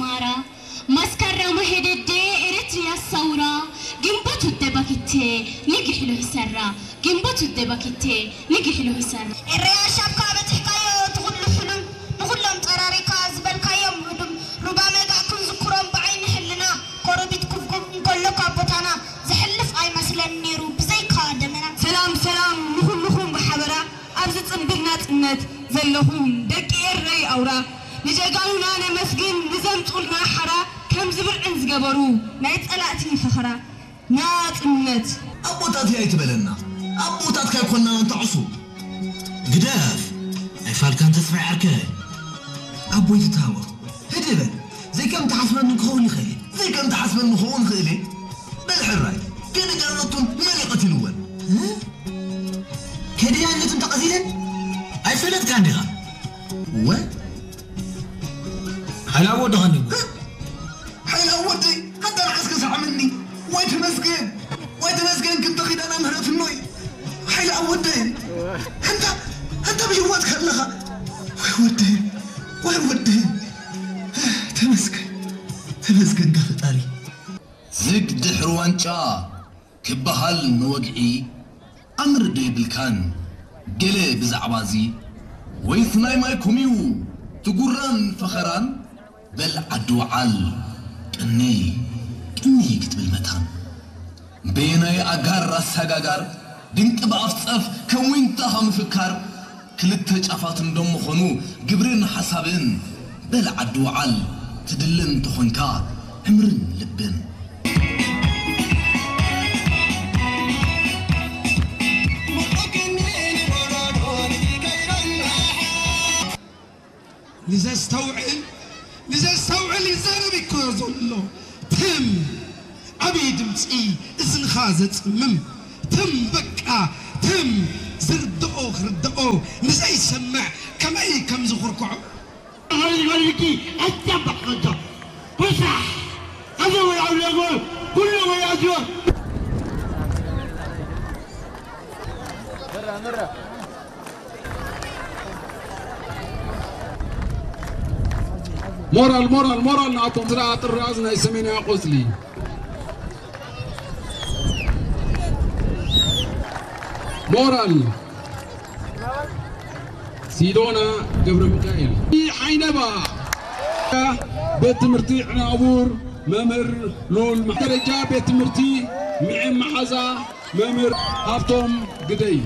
ማራ መስከረም ሄደዴ ኤርትርያ ሰውራ ግንቦት ውደ ባኪቴ ንግሕሎ ይሰራ ግንቦት ውደ ባኪቴ ንግሕሎ ይሰራ። ኤረያ ሻብካ በጺሕካዮ እቲ ኩሉ ሕሉም ንኹሎም ጸራሪካ ዝበልካዮም ህዱም ሩባ መጋእ ክንዝክሮም ብዓይኒ ሕልና ኮረቢት ኩብኩብ እንከሎ ካብ ቦታና ዝሕልፍ ኣይመስለን ነይሩ ብዘይካ ደመና። ሰላም ሰላም ንኹልኹም ብሓበራ ኣብዚ ጽንብል ናጽነት ዘለኹም ደቂ ኤረይ ኣውራ ንጀጋኑና ነመስግን ንዘምጹልና ሓራ ከምዚ ብርዕን ዝገበሩ ናይ ጸላእቲ ፈኸራ ናጽነት ኣቦታት እያ ኣይትበለና ኣቦታትካ ኣይኮናን ኣንታ ዕሱብ ግደፍ ኣይፋልካን ተስፋይ ዓርከይ ኣቦይ ትታወቕ ህድእ በል ዘይከም ትሓስበኒ ክኸውን ይኽእል እየ ዘይከም ትሓስበኒ ክኸውን ይኽእል እየ በል ሕራይ ገለ ጃነቱን መን ይቐትልወን ከድያነቱን ተቐቲለን ኣይፈለጥካን ዲኻ ወ ሓይላ ወደኻኒ ሓይላ ወደይ ኣንታ ንዓስከ ሰዓመኒ ወይ ተመስገን ወይ ተመስገን ክብቲ ኺዳና ምህረትኖይ ሓይላ ወደይ ኣንታ ኣንታ ብህይወት ከለኻ ወይ ወደይ ወይ ወደይ ተመስገን ተመስገን ጋ ፈጣሪ ዝግ ድሕሪ ዋንጫ ክበሃል ንወግዒ ኣምር ዶ የብልካን ገለ ብዛዕባዚ ወይስ ናይ ማይኩም እዩ ትጉራን ፈኸራን በል ዓዲ ውዓል ቅኒ ቅኒ ክትብል መታን በየናይ ኣጋር ኣሳጋጋር ድንቂ ብኣፍ ጸፍ ከም ዊንታ ምፍካር ክልተ ጫፋት እንደምኾኑ ግብርን ሓሳብን በል ዓዲ ውዓል ትድልን ተኾንካ ዕምርን ልብን ንዘስተውዕል ንዘስተውዕል ይዛረብ እኮ ዘሎ ትም ዓብይ ድምፂ እዝንኻ ዘፅምም ትም በቃ ትም ዝርድኦ ክርድኦ ንዘይሰምዕ ከመይ ከም ዝኹርኩዖ ولدي أتبع خطة وسع هذا هو العولة كل ويأجر ሞራል ሞራል ሞራል ንኣቶም ስራ ጥራዝ ናይ ሰሜናዊ ቆፅሊ ሞራል ሲዶና ገብረ ሚካኤል ዓይነባ ቤት ትምህርቲ ዕናቡር መምህር ሉል ደረጃ ቤት ትምህርቲ ሚዒ መዓዛ መምህር ሃብቶም ግደይ